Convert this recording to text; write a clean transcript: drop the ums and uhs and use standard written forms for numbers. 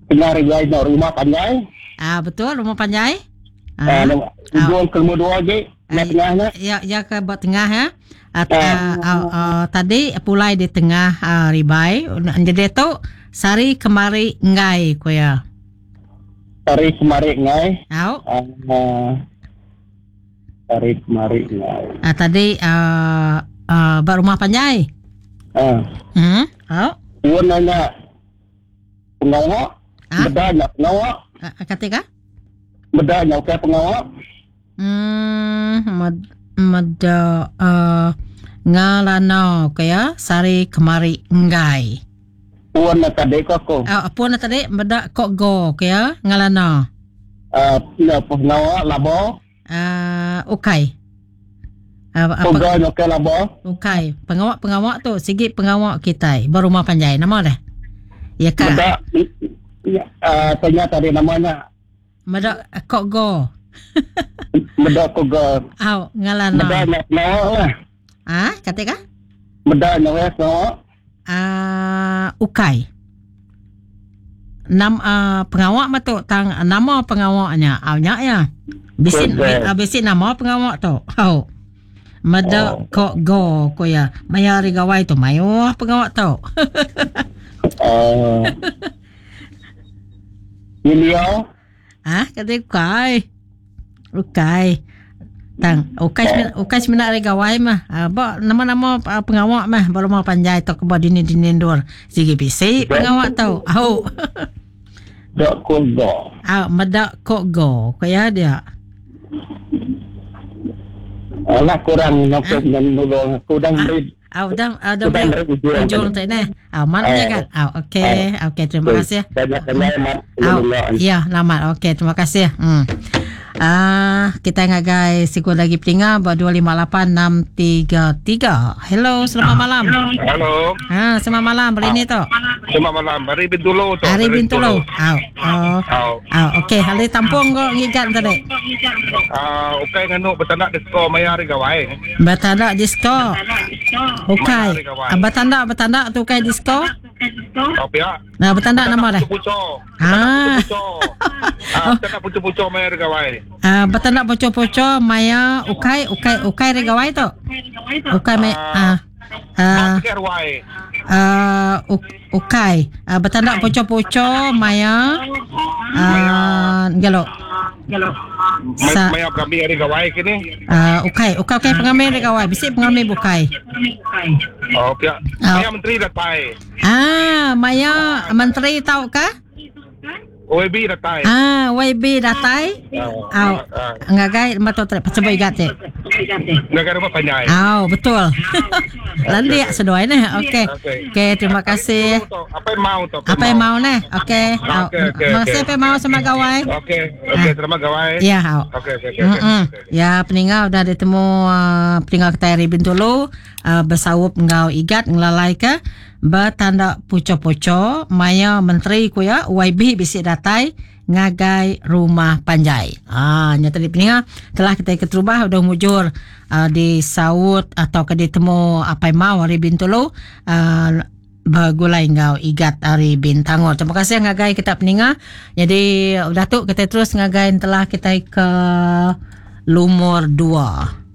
Tengah rigai nya rumah panjai. Ah betul rumah panjai. Ah, ah. Ujung ke nombor dua agi ba tengah nya. Ya ya ke ba tengah ya. Ah, ah. Ah, ah, tadi pulai di tengah ah, ribai. Jadi tu sari kemari enggai ku ya. Sari kemari enggai. Au. Ah, sari kemari enggai. Ah, tadi ah, ah, ba rumah panjai. Ah. Au. Pun nanya Pengawa ha? Meda nya pengawa. Ha, kati ka? Meda nya ukai pengawa. Hmm, meda uh, ngalana ke ya sari kemari enggai. Pun na tadi ko aku. Uh, pun na tadi meda kok go ke ya ngalana. Uh, pengawa labo. Uh, ukai. Uh, apa? Ukai ukai laba. Ukai. Pengawa-pengawa tu sigi pengawa kitai ba rumah panjai. Nama deh? Ya ka. Meda uh, tanya tadi namanya. Meda kok go. Meda kok go. Au, ngalana. Meda nak pengawa lah. Ah, kata ka? Meda nyawa pengawa. Uh, ukai. Nam uh, pengawa mah tu tang nama pengawa nya. Au nya ya. Bisi uh, bisi nama pengawa tu. Au. Meda oh. kok go ko ya. Maya hari gawai tu mayuh pengawa tu. uh, Ilya Ah, kata ukai. Ukai. Tang, ukai semina, ukai semina hari gawai mah. Ah, ba nama-nama ah, pengawa mah ba rumah panjai tau ke ba dini-dini endur. Sigi bisi pengawa tau. Au. Dok ko go. Au, meda ko go. Ko ya dia. Alah kurang nyokong dan nulung aku dah beri Au dah au dah beri ujung tu neh. Au mat nya kan. Au okey. Okey terima kasih. Au ya lamat okey terima kasih. Hmm. Ah kita ngagai siku lagi peninga ba 258633. Hello selamat malam. Hello. Ha selamat malam hari ni tu. Selamat malam hari Bintulu tu. Hari Bintulu. Au. Oh. Au. Au okey hari tampung ko ngigat tadi. Ah ukai nganu betanak disko maya hari gawai. Betanda disco. Ukai. Betanda betanda tu ukai disco. Oh pia. Nah betanda nama dah. Puco. Ah. Ah, betanda puco-puco maya hari gawai. Ah, betanda poco-poco maya ukai ukai ukai hari gawai tu. Ukai maya ah. Ah. Ah, ukai. Ah, betanda poco-poco maya ah gelo. Sa maya pengambi hari gawai kini. Uh, ukai, ukai ukai pengambi hari gawai. Bisi pengambi bukai. Oh, pia. Maya menteri datai. Ah, maya menteri tau ka? YB datai. Ah, YB datai. Au. Ngagai rumah tu trip cuba igat ti. Ngagai rumah panjai. Au, betul. Landik seduai neh. Okey. Okey, terima kasih. Apa yang mau tu? Apa yang mau neh? Okey. Terima kasih apa yang mau sama gawai. Okey. Okey, terima gawai. Ya, au. Okey, okey, okey. Ya, peninga udah ditemu uh, peninga kita hari Bintulu uh, besaup enggau igat ngelalai ke Betanda pucho-pucho maya menteri ku iya YB bisi datai ngagai rumah panjai. Haa nya tadi peninga telah kitai keterubah udah mujur uh, disaut atau ke ditemu Apai Mau ari Bintulu uh, begulai enggau Igat ari Bintangor. Terima kasih ngagai kita peninga. Jadi udah tu kita terus ngagai telah kitai ke lumur 2.